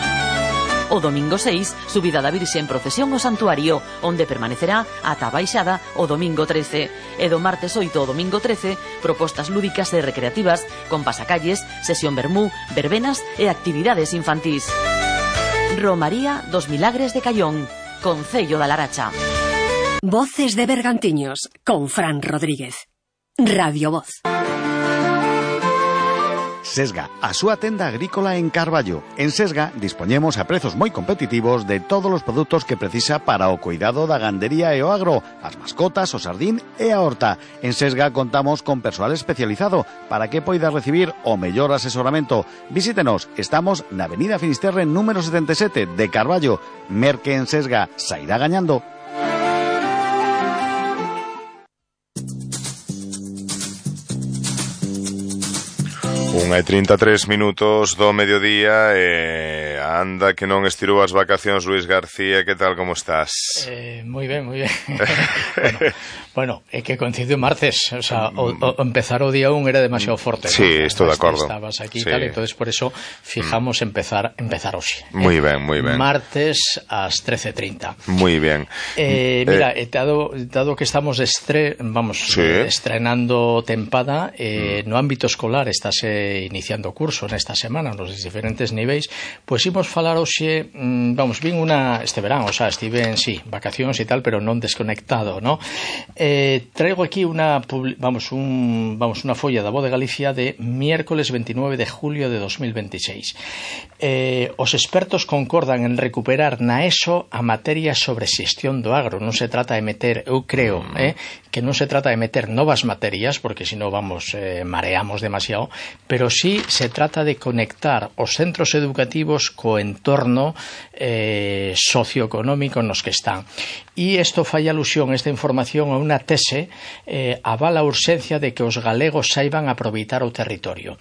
O domingo 6, subida da Virxe en procesión ao santuario, onde permanecerá ata a baixada o domingo 13. E do martes 8 ao domingo 13, propostas lúdicas e recreativas con pasacalles, sesión vermú, verbenas e actividades infantís. Romaría dos Milagres de Caión, Concello da Laracha. Voces de Bergantiños, con Fran Rodríguez. Radio Voz. Sesga, a súa tenda agrícola en Carballo. En Sesga dispoñemos a prezos moi competitivos de todos os produtos que precisa para o cuidado da gandería e o agro, as mascotas, o sardín e a horta. En Sesga contamos con persoal especializado para que poida recibir o mellor asesoramento. Visítenos, estamos na Avenida Finisterre número 77 de Carballo. Merque en Sesga, sairá gañando. 1:33 minutos do mediodía e anda que non estirou as vacacións Luis García, que tal, como estás? Moi ben, moi ben. bueno, é que coincidiu martes, o sea, o empezar o día 1 era demasiado forte. Sí, ¿no? Estou de acordo. Estabas aquí sí. Tal, entonces por eso fijamos empezar hoxe. Moi ben, moi ben. Martes ás 13:30. Moi ben. Mira, dado que estamos estrenando tempada, no ámbito escolar estáse iniciando curso nesta semana nos diferentes niveis, pois imos falar hoxe, vin este verán, o sea, estive en vacacións e tal, pero non desconectado, ¿no? Traigo aquí unha folla da Voz de Galicia de miércoles 29 de julio de 2026. Os expertos concordan en recuperar na ESO a materia sobre xestión do agro. Non se trata de meter, eu creo, que non se trata de meter novas materias, porque senón mareamos demasiado, pero sí se trata de conectar os centros educativos co entorno socioeconómico nos que están. E isto fai alusión, esta información, a unha tese avala a urxencia de que os galegos saiban aproveitar o territorio.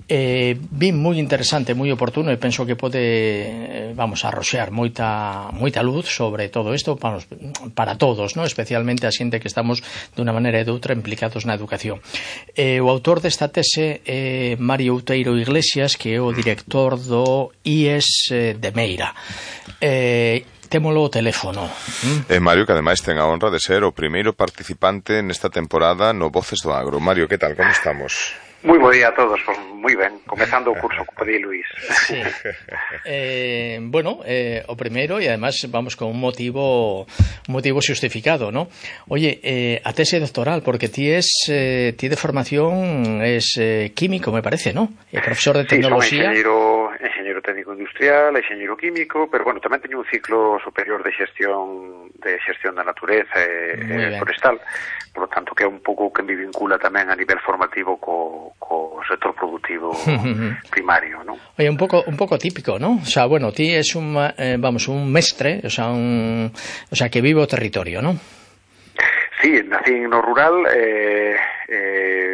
Vin moi interesante, moi oportuno, e penso que pode arroxear moita luz sobre todo isto para todos, ¿no? Especialmente a xente que estamos de unha maneira e de outra implicados na educación. O autor desta tese é Mario Outeiro Iglesias, que é o director do IES de Meira. Témolo o teléfono. Mario, que ademais ten a honra de ser o primeiro participante nesta temporada no Voces do Agro. Mario, que tal? Como estamos? Moi bo día a todos, pues moi ben, comezando o curso co Padí Luís. Sí. O primeiro, e además vamos con un motivo justificado, ¿no? Oye, a tese doctoral, porque ti de formación es químico, me parece, ¿no? Profesor de tecnoloxía. Sí, son enxeñeiro técnico industrial, enxeñeiro químico, pero bueno, tamén teño un ciclo superior de xestión da natureza e forestal, por lo tanto que é un pouco que me vincula tamén a nivel formativo co sector productivo primario, ¿no? Oye, un pouco típico, ¿no? O sea, bueno, ti es un mestre, o sea, que vive o territorio, ¿no? Sí, nací no rural,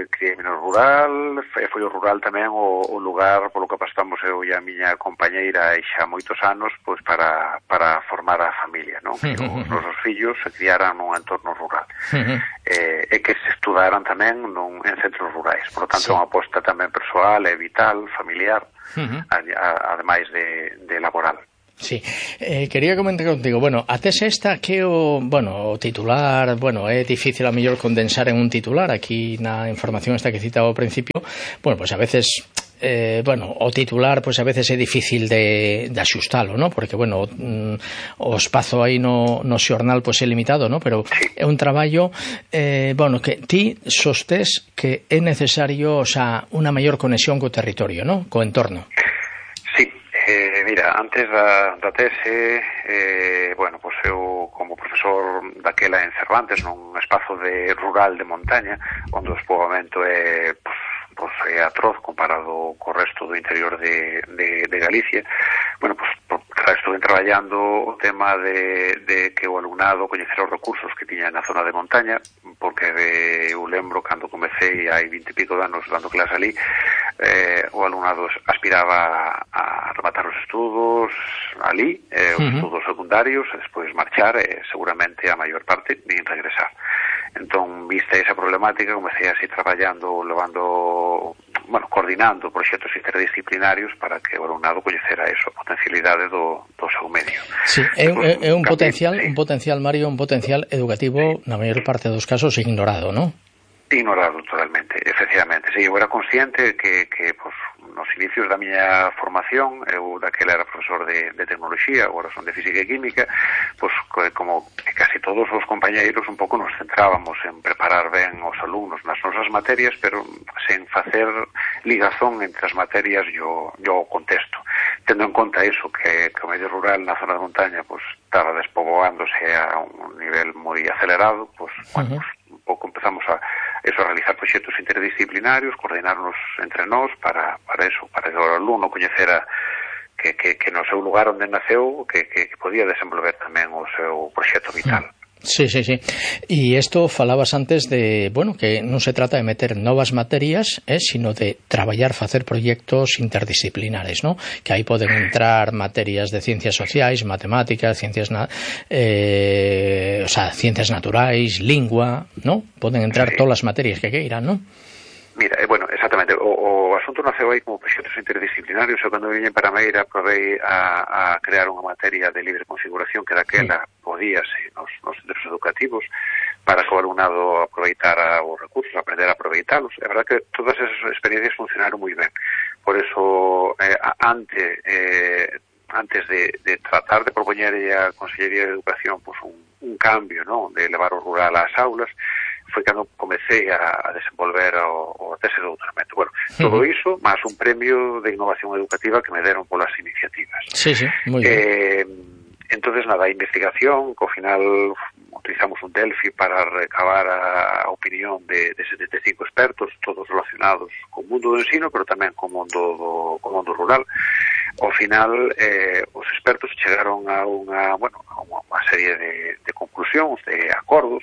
criei no rural, foi o rural tamén o lugar polo que apostamos eu e a miña compañeira e xa moitos anos pois para formar a familia, non? Que os nosos fillos se criaran nun entorno rural e que se estudaran tamén en centros rurais, por lo tanto é unha aposta tamén persoal e vital, familiar, ademais de laboral. Sí, quería comentar contigo, a tese esta que o titular, é difícil a mellor condensar en un titular, aquí na información esta que citaba ao principio, pues a veces o titular pues a veces é difícil de axustalo, ¿no? Porque o espazo aí no xornal pues é limitado, ¿no? Pero é un traballo que ti sostés que é necesario, o sea, unha maior conexión co territorio, ¿no? Co entorno. Mira, antes da tese, pues eu como profesor daquela en Cervantes nun espazo de rural de montaña, onde o despoboamento é atroz comparado co resto do interior de Galicia, estuve traballando o tema de que o alumnado coñecera os recursos que tiña na zona de montaña, porque eu lembro cando comecei hai 20 e pico de anos dando clase ali, o alumnado aspiraba a rematar os estudos ali, os estudos secundarios, e despois marchar, e seguramente a maior parte nin regresar. Entón, vista esa problemática, comecei así traballando, coordinando proxectos interdisciplinarios para que o alumnado coñecera a potencialidade do seu medio. Sí, é un potencial, Mario, un potencial educativo, na maior parte dos casos, ignorado, non? Ignorado totalmente, efectivamente. Sí, eu era consciente que nos inicios da miña formación, eu daquela era profesor de tecnoloxía, agora son de física e química, como casi todos os compañeiros un pouco nos centrábamos en preparar ben os alumnos nas nosas materias, pero sen facer ligazón entre as materias e o contexto. Tendo en conta iso, que o medio rural na zona de montaña estaba despoboándose a un nivel moi acelerado, un pouco empezamos a realizar proxectos interdisciplinarios, coordinarnos entre nós para que o alumno coñecera que no seu lugar onde naceu que podía desenvolver tamén o seu proxecto vital. Sí. Y esto falabas antes de, que non se trata de meter novas materias, sino de traballar, facer proxectos interdisciplinares, ¿no? Que aí poden entrar materias de ciencias sociais, matemáticas, ciencias naturais, lingua, ¿no? Poden entrar todas as materias que queiran, ¿no? Mira, exactamente, o asunto naceu aí como proxectos interdisciplinarios. Eu cando viñen para Meira provei a crear unha materia de libre configuración que daquela podíase nos centros educativos para que o alumnado aproveitara os recursos, aprender a aproveitalos. É verdad que todas esas experiencias funcionaron moi ben. Por eso, antes de tratar de propoñer a Consellería de Educación un cambio, ¿no?, de levar o rural ás aulas, foi cando comecei a desenvolver o tese de doutoramento. Todo iso, máis un premio de innovación educativa que me deron polas iniciativas. Sí, moi ben. Entonces, a investigación, que ao final utilizamos un Delphi para recabar a opinión de 75 expertos, todos relacionados co mundo do ensino, pero tamén co mundo rural. Ao final, os expertos chegaron a unha serie de conclusións, de acordos,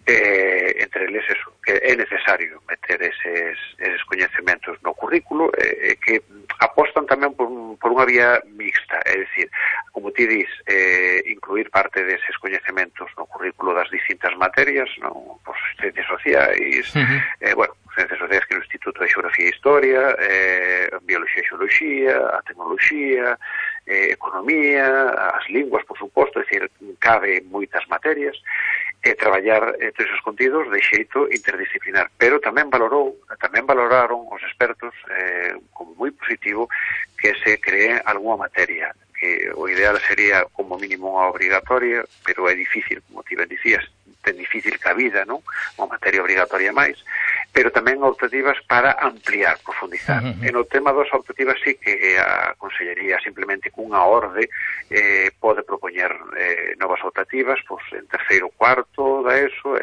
entre eles eso, que é necesario meter eses coñecementos no currículo, que apostan tamén por unha vía mixta, é dicir, como ti dis, incluir parte deses coñecementos no currículo das distintas materias, no? Ciencias sociais, Ciencias Sociais que no Instituto de Xeografía e Historia, Biología e Xeoloxía, a Tecnoloxía, Economía, as linguas, por suposto, é dicir, cabe moitas materias, traballar todos esos contidos de xeito interdisciplinar, pero tamén valoraron os expertos como moi positivo que se cree algunha materia, que o ideal sería como mínimo unha obrigatoria, pero é difícil, como ti ben dicías, ten difícil cabida, non? Unha materia obrigatoria máis, pero tamén optativas para ampliar, profundizar. E no tema das optativas sí que a Consellería simplemente cunha orde pode propoñer novas optativas, pois en terceiro, cuarto da ESO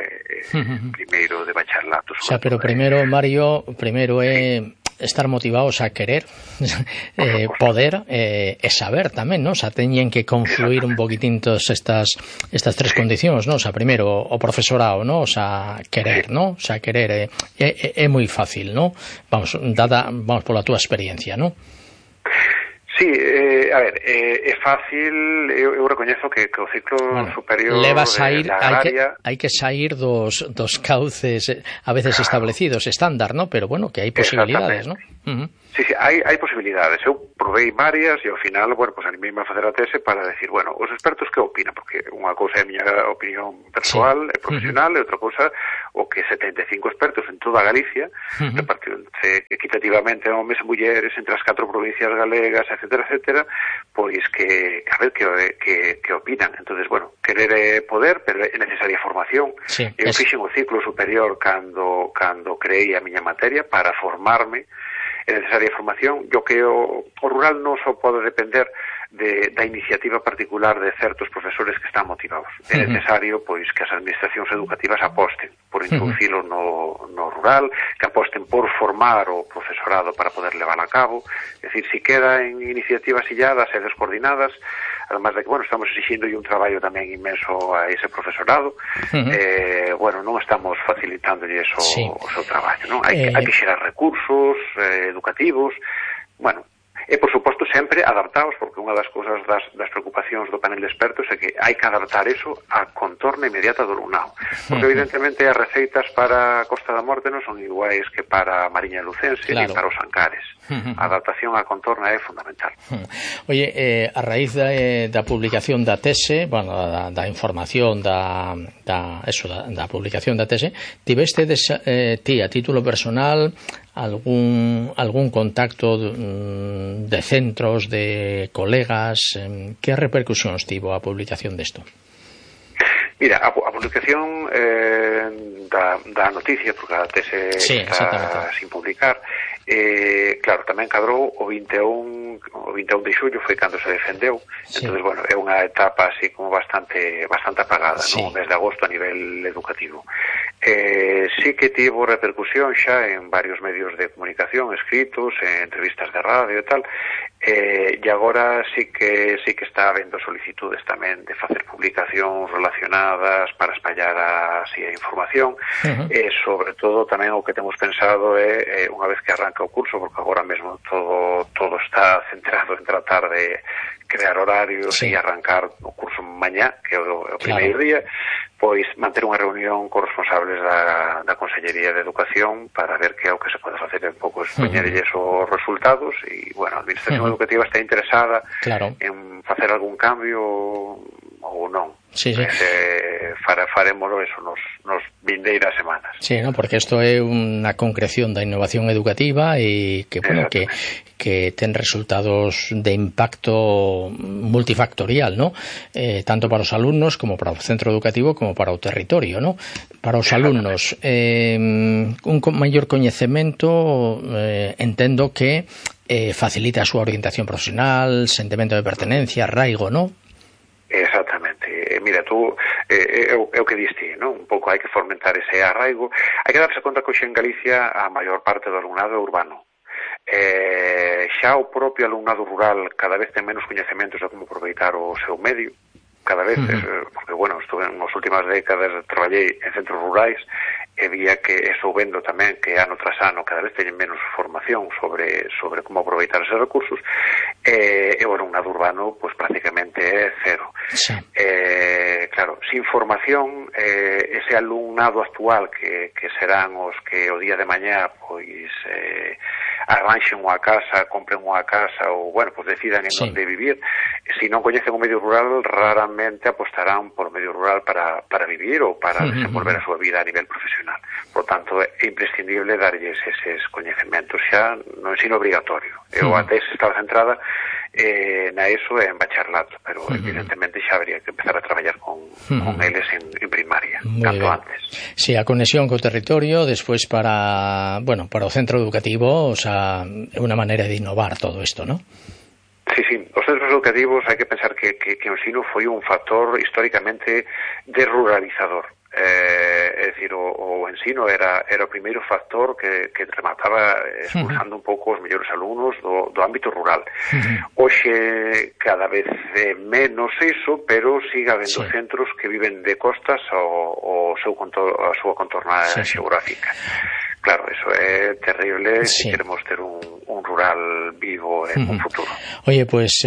primeiro de bacharelato. O sea, pero primeiro, Mario, é estar motivados a querer, poder e saber tamén, non? O sea, teñen que confluir un poquitín todas estas tres condicións, non? O sea, primeiro o profesorado, non? O sea, querer, non? O sea, querer é moi fácil, non? Vamos pola túa experiencia, non? Sí, a ver, é fácil, eu recoñezo que o ciclo superior leva a sair, de agraria... hai que sair dos cauces a veces establecidos, estándar, ¿no? Pero bueno, que hai posibilidades, ¿no? Sí, hai posibilidades. Eu provei varias e ao final, bueno, pues animeime a facer a tese para decir, bueno, os expertos que opinan, porque unha cousa é a miña opinión persoal e profesional e outra cousa o que 75 expertos en toda Galicia, repartironse equitativamente homes e mulleres entre as 4 provincias galegas, etcétera, pois que a ver que opinan. Entonces, bueno, querer é poder, pero é necesaria formación. Eu fixen o ciclo superior cando creei a miña materia para formarme. É necesaria formación. Yo que o rural non só pode depender da iniciativa particular de certos profesores que están motivados. É necesario pois que as administracións educativas aposten por introducilo no rural, que aposten por formar o profesorado para poder levar a cabo. É dicir, si queda en iniciativas illadas e descoordinadas, además de que, bueno, estamos exigindo un traballo tamén inmenso a ese profesorado, bueno, non estamos facilitándolle o seu traballo, non? Hai que xerar recursos educativos, bueno, e, por suposto, sempre adaptados, porque unha das cousas das preocupacións do panel de expertos é que hai que adaptar eso á contorna inmediata do alumnado. Porque, evidentemente, as receitas para a Costa da Morte non son iguais que para a Mariña Lucense ni para os Ancares. A adaptación á contorna é fundamental. Oye, a raíz da publicación da tese, bueno, da información da publicación da tese, tiveste ti a título personal algún contacto de centros, de colegas? Que repercusións tivo a publicación desto? Mira, a publicación da noticia, porque a tese está sin publicar, claro, tamén cadrou o 21 de xullo, foi cando se defendeu. Entonces, bueno, é unha etapa así como bastante apagada, no mes de agosto a nivel educativo. Sí que tivo repercusión xa en varios medios de comunicación escritos, en entrevistas de radio e tal, e agora sí que está habendo solicitudes tamén de facer publicacións relacionadas para espallar así a información, e sobre todo tamén o que temos pensado é unha vez que arranca o curso, porque agora mesmo todo está centrado en tratar de crear horarios e arrancar o curso mañá, que é o primeiro día, pois manter unha reunión con responsables da Consellería de Educación para ver que é o que se pode facer, un pouco expoñerlles os resultados, e, bueno, a Administración Educativa está interesada en facer algún cambio ou non. Farémoslo eso nos vindeiras semanas. Sí, ¿no? Porque isto é unha concreción da innovación educativa e que, bueno, que ten resultados de impacto multifactorial, ¿no? Tanto para os alumnos como para o centro educativo como para o territorio, ¿no? Para os alumnos, un maior coñecemento, entendo que facilita a súa orientación profesional, sentimento de pertenencia, arraigo, ¿no? Exactamente. Mira, tú, é o que diste, non? Un pouco hai que fomentar ese arraigo. Hai que darse conta que hoxe en Galicia a maior parte do alumnado é urbano. Xa o propio alumnado rural cada vez ten menos coñecementos de como aproveitar o seu medio, cada vez, porque, bueno, estuve nas últimas décadas, traballei en centros rurais, e vía que estou vendo tamén que ano tras ano cada vez teñen menos formación sobre como aproveitar esos recursos, e o alumnado urbano pues prácticamente é cero. Sí. Claro, sin formación, ese alumnado actual que serán os que o día de mañá pois arranxen unha casa, compren unha casa ou, bueno, pues decidan en onde vivir. Se non coñecen o medio rural, raramente apostarán por o medio rural para vivir ou para desenvolver a súa vida a nivel profesional. Por tanto, é imprescindible darlles eses coñecementos xa no ensino obrigatorio. Eu a tese estaba centrada na ESO e en bacharelato, pero evidentemente xa habría que empezar a traballar con eles en primaria, tanto antes. Sí, a conexión co territorio, despois para o centro educativo, o sea, é unha maneira de innovar todo isto, ¿no? Sí, os centros educativos hai que pensar que o ensino foi un factor históricamente desruralizador. É dicir, o ensino era o primeiro factor que remataba expulsando un pouco os mellores alumnos do ámbito rural. Hoxe cada vez menos iso, pero sigue habendo centros que viven de costas a súa contorna xeográfica. Claro, eso é terrible si queremos ter un rural vivo en un futuro. Oye, pues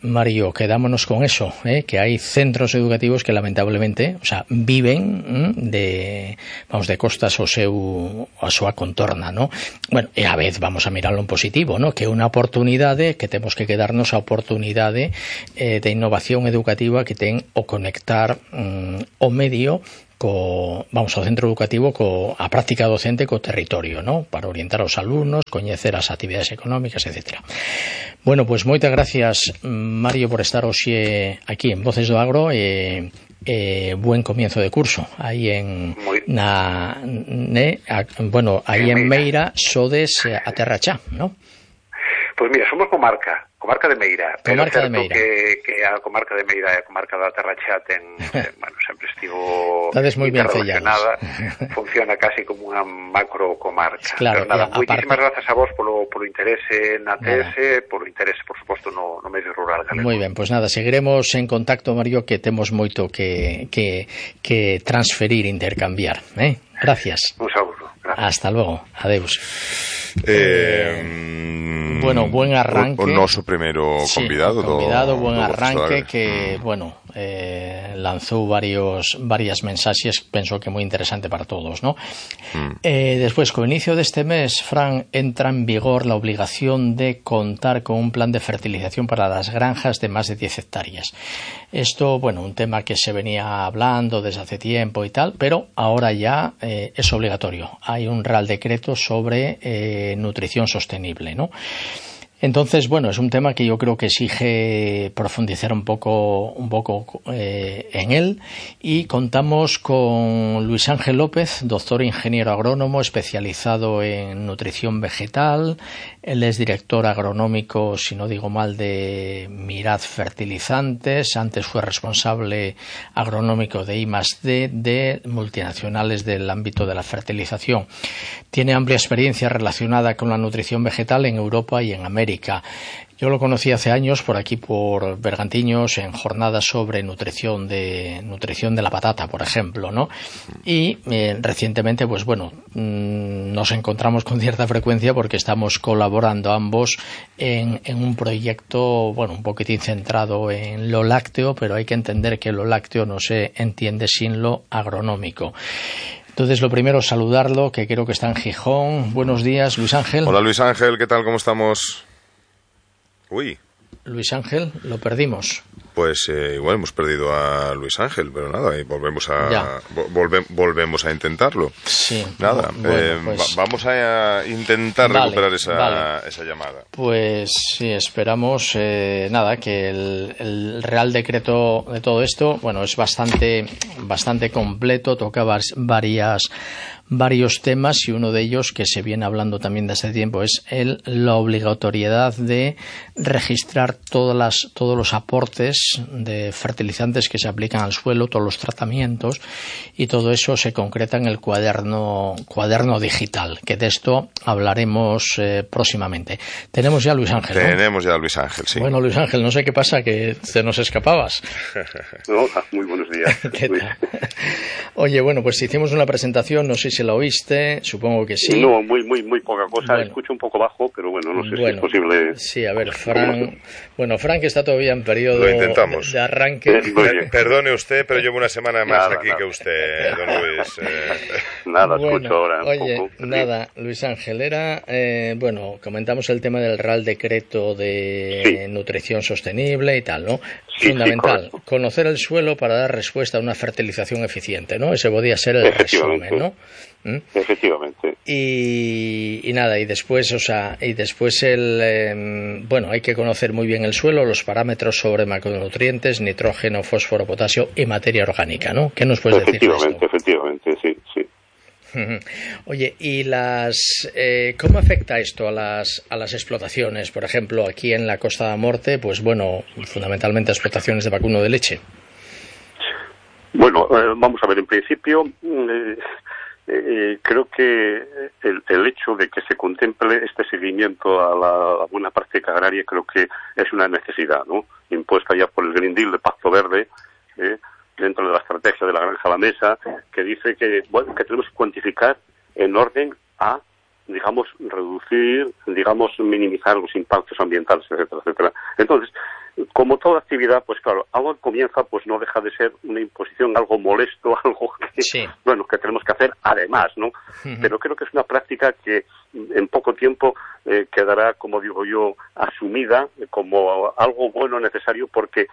Mario, quedámonos con eso, que hai centros educativos que lamentablemente, o sea, viven de costas a súa contorna, ¿no? Bueno, e a vez vamos a mirarlo en positivo, ¿no? Que é unha oportunidade que temos que quedarnos a oportunidade de innovación educativa que ten o conectar o medio ao centro educativo a práctica docente co territorio, ¿no? Para orientar aos alumnos, coñecer as actividades económicas, etc. Bueno, pues moitas gracias, Mario, por estar hoxe aquí en Voces do Agro e buen comienzo de curso aí en Meira sodes a Terra Chá, ¿no? Pois mira, somos comarca de Meira, pero certo que a comarca de Meira e a comarca da Terra Chá sempre estivo interrelacionada, funciona casi como unha macro comarca. Claro, pero nada, moitísimas grazas a vos polo interese na TS, polo interese, por suposto, no medio rural galego. Moi ben, pois nada, seguiremos en contacto, Mario, que temos moito que transferir, intercambiar, Gracias. Un saúdo. Hasta luego. Adeus. Bueno, buen arranque. O noso primeiro convidado. Buen arranque que, lanzou varias mensaxes, penso que moi interesante para todos, ¿no? Despois, co inicio deste mes, Fran, entra en vigor la obligación de contar con un plan de fertilización para las granjas de más de 10 hectáreas. Esto, un tema que se venía hablando desde hace tiempo y tal, pero ahora ya es obligatorio. Hay un Real Decreto sobre nutrición sostenible, ¿no? Entonces, es un tema que yo creo que exige profundizar un poco en él, y contamos con Luis Ángel López, doctor ingeniero agrónomo especializado en nutrición vegetal. Él es director agronómico, si no digo mal, de Miraz Fertilizantes. Antes fue responsable agronómico de I+D de multinacionales del ámbito de la fertilización. Tiene amplia experiencia relacionada con la nutrición vegetal en Europa y en América. Yo lo conocí hace años por aquí, por Bergantiños, en jornadas sobre nutrición de la patata, por ejemplo, ¿no? Y recientemente, nos encontramos con cierta frecuencia porque estamos colaborando ambos en un proyecto, un poquitín centrado en lo lácteo, pero hay que entender que lo lácteo no se entiende sin lo agronómico. Entonces, lo primero, saludarlo, que creo que está en Gijón. Buenos días, Luis Ángel. Hola, Luis Ángel, ¿qué tal? ¿Cómo estamos? Uy. Luis Ángel, lo perdimos. Pues igual hemos perdido a Luis Ángel, pero nada, y volvemos a intentarlo. Sí. Nada, vamos a intentar recuperar esa llamada. Pues sí, esperamos que el Real Decreto de todo esto, es bastante completo, toca varias varios temas, y uno de ellos, que se viene hablando también desde hace tiempo, es la obligatoriedad de registrar todos los aportes de fertilizantes que se aplican al suelo, todos los tratamientos, y todo eso se concreta en el cuaderno digital, que de esto hablaremos próximamente. Tenemos ya a Luis Ángel, ¿no? Tenemos ya a Luis Ángel, sí. Bueno, Luis Ángel, no sé qué pasa, que te nos escapabas. Hola, muy buenos días. ¿Qué tal? Oye, bueno, pues hicimos una presentación, no sé si la oíste, supongo que sí. No, muy poca cosa. Bueno. Escucho un poco bajo, pero bueno, no sé si es posible. Sí, a ver, Frank está todavía en periodo de arranque. Perdone usted, pero llevo una semana más aquí que usted, don Luis. Nada, escucho ahora. Oye, nada, Luis Ángel, comentamos el tema del Real Decreto de Nutrición Sostenible y tal, ¿no? Sí, fundamental, conocer el suelo para dar respuesta a una fertilización eficiente, ¿no? Ese podría ser el resumen, ¿no? Efectivamente. Y nada, y después hay que conocer muy bien el suelo, los parámetros sobre macronutrientes, nitrógeno, fósforo, potasio y materia orgánica, ¿no? ¿Qué nos puedes decir de esto? Efectivamente, sí. Oye, ¿y cómo afecta esto a las explotaciones? Por ejemplo, aquí en la Costa da Morte, pues bueno, fundamentalmente explotaciones de vacuno de leche. Bueno, vamos a ver, en principio creo que el hecho de que se contemple este seguimiento a la buena práctica agraria creo que es una necesidad, ¿no? Impuesta ya por el Green Deal de Pacto Verde, dentro de la estrategia de la granja a la mesa, que dice que tenemos que cuantificar en orden a, digamos, reducir, digamos, minimizar los impactos ambientales, etcétera, etcétera. Entonces, como toda actividad, pues claro, algo que comienza, pues no deja de ser una imposición, algo molesto, algo que tenemos que hacer además, ¿no? Pero creo que es una práctica que en poco tiempo quedará, como digo yo, asumida como algo bueno, necesario, porque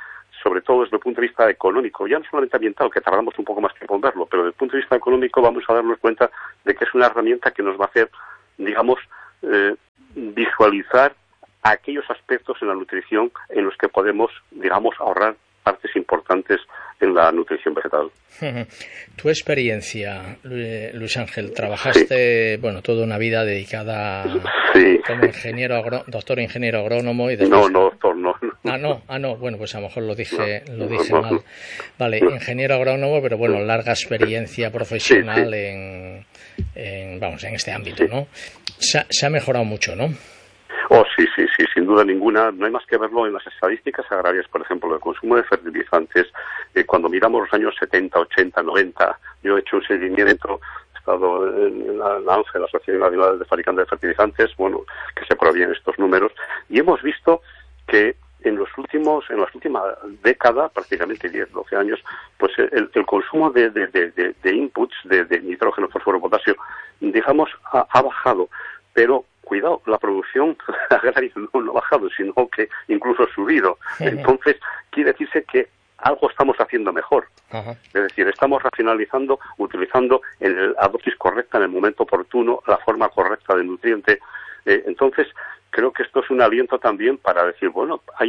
sobre todo desde el punto de vista económico, ya no solamente ambiental, que tardamos un poco más tiempo en verlo, pero desde el punto de vista económico vamos a darnos cuenta de que es una herramienta que nos va a hacer, digamos, visualizar aquellos aspectos en la nutrición en los que podemos, digamos, ahorrar partes importantes en la nutrición vegetal. Tu experiencia, Luis Ángel, trabajaste, toda una vida dedicada como doctor ingeniero agrónomo y después... No, doctor, no. Bueno, pues a lo mejor lo dije mal. Vale, ingeniero agrónomo, pero bueno, larga experiencia profesional en este ámbito, ¿no? Se ha mejorado mucho, ¿no? Oh, sí, sin duda ninguna. No hay más que verlo en las estadísticas agrarias, por ejemplo, el consumo de fertilizantes. Cuando miramos los años 70, 80, 90, yo he hecho un seguimiento, he estado en la ANFE, la Asociación Nacional de Fabricantes de Fertilizantes, que se provienen estos números, y hemos visto que en las últimas décadas, prácticamente 10, 12 años, pues el consumo de inputs, de nitrógeno, fósforo, potasio, digamos, ha bajado, pero cuidado, la producción agraria no ha bajado, sino que incluso ha subido. Entonces, quiere decirse que algo estamos haciendo mejor. Es decir, estamos racionalizando, utilizando la dosis correcta en el momento oportuno, la forma correcta de nutriente. Entonces, creo que esto es un aliento también para decir, hay